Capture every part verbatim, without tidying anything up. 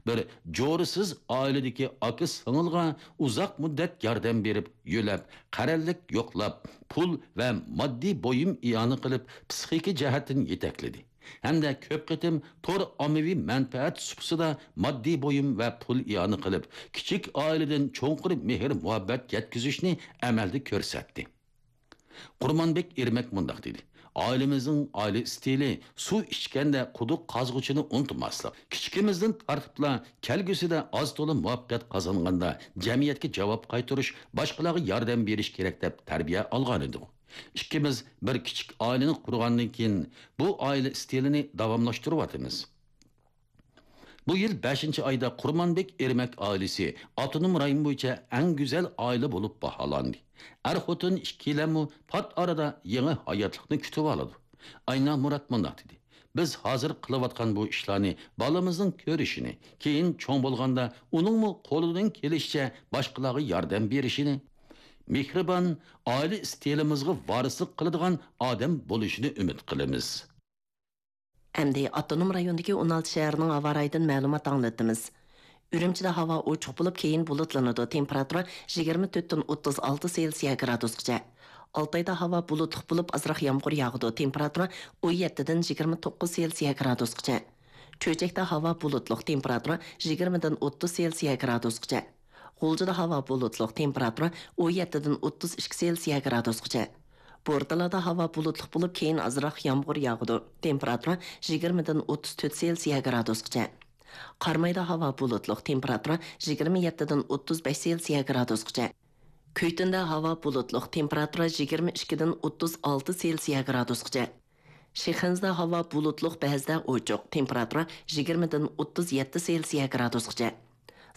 بىر جورىسىز ئائىلىدىكى ئاكا سىڭىلغا ئۇزاق مۇددەت ياردەم بېرىپ، يۆلەپ، قەرەللىك يوقلاپ، پۇل ۋە ماددىي بۇيۇم ئىئانە قىلىپ، پسىخىكا جەھەتتىن يېتەكلىدى ھەمدە كۆپ قېتىم تور ئاممىۋى مەنپەئەت سۇپىسىدا ماددىي بۇيۇم ۋە پۇل ئىئانە قىلىپ، كىچىك ئائىلىدىن چوڭقۇر مېھىر-مۇھەببەت يەتكۈزۈشنى ئەمەلدە كۆرسەتتى. قۇرمانبېك ئېرمەك مۇنداق دېدى: «ئائىلىمىزنىڭ ئائىلە ئىستىلى سۇ ئىچكەندە قۇدۇق قازغۇچىنى ئۇنتۇماسلىق. كىچىكىمىزدىن تارتىپلا كەلگۈسىدە ئاز-تولا مۇۋەپپەقىيەت قازانغاندا جەمئىيەتكە جاۋاب قايتۇرۇش، باشقىلارغا ياردەم بېرىش كېرەك» دەپ تەربىيە ئالغانىدۇق. ئىككىمىز بىر كىچىك ئائىلىنى قۇرغاندىن كېيىن، بۇ ئائىلە ئىستىلىنى داۋاملاشتۇرۇۋاتىمىز. بۇ يىل بەشىنچى ئايدا قۇرمانبېك ئېرمەك ئائىلىسى ئاپتونوم رايون بويىچە ئەڭ گۈزەل ئائىلە بولۇپ باھالاندى. ئەر-خوتۇن ئىككىيلەنمۇ پات ئارىدا يېڭى ھاياتلىقنى كۈتۈۋالىدۇ. ئاينا مۇرات مۇنداق دېدى: «بىز ھازىر قىلىۋاتقان بۇ ئىشلارنى بالىمىزنىڭ كۆرۈشىنى، كېيىن چوڭ بولغاندا ئۇنىڭمۇ قولىدىن كېلىشىچە باشقىلارغا ياردەم بېرىشىنى، مېھرىبان ئائىلە ئىستىلىمىزغا ۋارىسلىق قىلىدىغان ئادەم بولۇشىنى ئۈمىد قىلىمىز.» ئەمدى ئاپتونوم رايوندىكى ئون ئالتە شەھەرنىڭ ھاۋا رايىدىن مەلۇمات ئاڭلىتىمىز. ئۈرۈمچىدە ھاۋا ئوچۇق بولۇپ، كېيىن بۇلۇتلىنىدۇ، تېمپېراتۇرا يىگىرمە تۆتتىن ئوتتۇز ئالتە سېلسىيە گرادۇسقىچە. ئالتايدا ھاۋا بۇلۇتلۇق بولۇپ، ئازراق يامغۇر ياغىدۇ، تېمپېراتۇرا ئون يەتتىدىن يىگىرمە توققۇز سېلسىيە گرادۇسقىچە. چۆچەكتە ھاۋا بۇلۇتلۇق، تېمپېراتۇرا يىگىرمىدىن ئوتتۇز سېلسىيە گرادۇسقىچە. غۇلجىدا ھاۋا بۇلۇتلۇق، تېمپېراتۇرا ئون يەتتىدىن ئوتتۇز ئىككى سېلسىيە گرادۇسقىچە. بورتالادا ھاۋا بۇلۇتلۇق بولۇپ، كېيىن ئازراق يامغۇر ياغىدۇ، تېمپېراتۇرا يىگىرمىدىن ئوتتۇز تۆت سېلسىيە گرادۇسقىچە. قارامايدا ھاۋا بۇلۇتلۇق، تېمپېراتۇرا يىگىرمە يەتتىدىن ئوتتۇز بەش سېلسىيە گرادۇسقىچە. كۈيتۇندا ھاۋا بۇلۇتلۇق، تېمپېراتۇرا يىگىرمە ئىككىدىن ئوتتۇز ئالتە سېلسىيە گرادۇسقىچە. شىخەنزىدە ھاۋا بۇلۇتلۇق، بەزىدە ئوچۇق، تېمپېراتۇرا يىگىرمىدىن ئوتتۇز يەتتە سېلسىيە گرادۇسقىچە.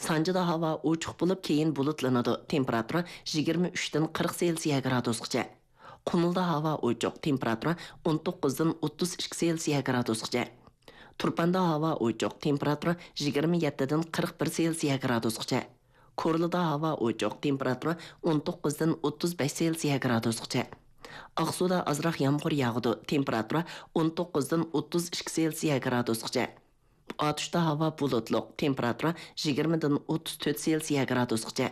سانجىدا ھاۋا ئوچۇق بولۇپ، كېيىن بۇلۇتلىنىدۇ، تېمپېراتۇرا يىگىرمە ئۈچتىن قىرىق سېلسىيە گرادۇسقىچە. قۇمۇلدا ھاۋا ئوچۇق، تېمپېراتۇرا ئون توققۇزدىن ئوتتۇز ئىككى سېلسىيە گرادۇسقىچە. تۇرپاندا ھاۋا ئوچۇق، تېمپېراتۇرا يىگىرمە يەتتىدىن قىرىق بىر سېلسىيە گرادۇسقىچە. كورلىدا ھاۋا ئوچۇق، تېمپېراتۇرا ئون توققۇزدىن ئوتتۇز بەش سېلسىيە گرادۇسقىچە. ئاقسۇدا ئازراق يامغۇر ياغىدۇ، تېمپېراتۇرا ئون توققۇزدىن ئوتتۇز ئىككى سېلسىيە گرادۇسقىچە. ئاتۇشتا ھاۋا بۇلۇتلۇق، تېمپېراتۇرا يىگىرمىدىن ئوتتۇز تۆت سېلسىيە گرادۇسقىچە.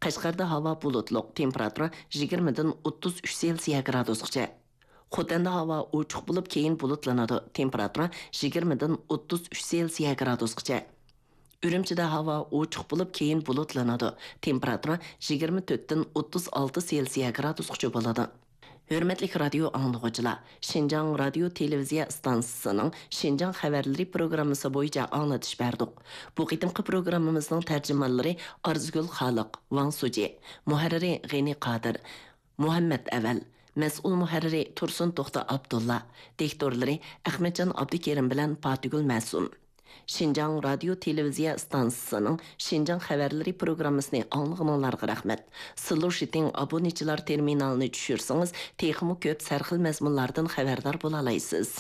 قەشقەردە ھاۋا بۇلۇتلۇق، تېمپېراتۇرا يىگىرمىدىن ئوتتۇز ئۈچ سېلسىيە گرادۇسقىچە. خوتەندە ھاۋا ئوچۇق بولۇپ، كېيىن بۇلۇتلىنىدۇ، تېمپېراتۇرا يىگىرمىدىن ئوتتۇز ئۈچ سېلسىيە گرادۇسقىچە. ئۈرۈمچىدە ھاۋا ئوچۇق بولۇپ، كېيىن بۇلۇتلىنىدۇ، تېمپېراتۇرا يىگىرمە تۆتتىن ئوتتۇز ئالتە سېلسىيە گرادۇسقىچە بولىدۇ. ھۆرمەتلىك رادىيو ئاڭلىغۇچىلار، شىنجاڭ رادىيو تېلېۋىزىيە ئىستانسىسىنىڭ شىنجاڭ خەۋەرلىرى پروگراممىسى بويىچە ئاڭلىتىش بەردۇق. بۇ قېتىمقى پروگراممىمىزنىڭ تەرجىمانلىرى ئارزۇگۈل خالىق، ۋاڭ سۇجى، مۇھەررىرى غېنى قادىر، مۇھەممەت ئەۋەل، مەسئۇل مۇھەررىرى تۇرسۇن توختى ئابدۇللا، دىكتورلىرى ئەخمەتجان ئابدۇكېرىم بىلەن پاتىگۈل مەسۇم. شىنجاڭ رادىيو تېلېۋىزىيە ئىستانسىسىنىڭ شىنجاڭ خەۋەرلىرى پروگراممىسىنى ئاڭلىغىنىڭلارغا رەھمەت. سىلۇشىتىڭ ئابۇنىچىلار تېرمىنالىنى چۈشۈرسىڭىز، تېخىمۇ كۆپ سەرخىل مەزمۇنلاردىن خەۋەردار بولالايسىز.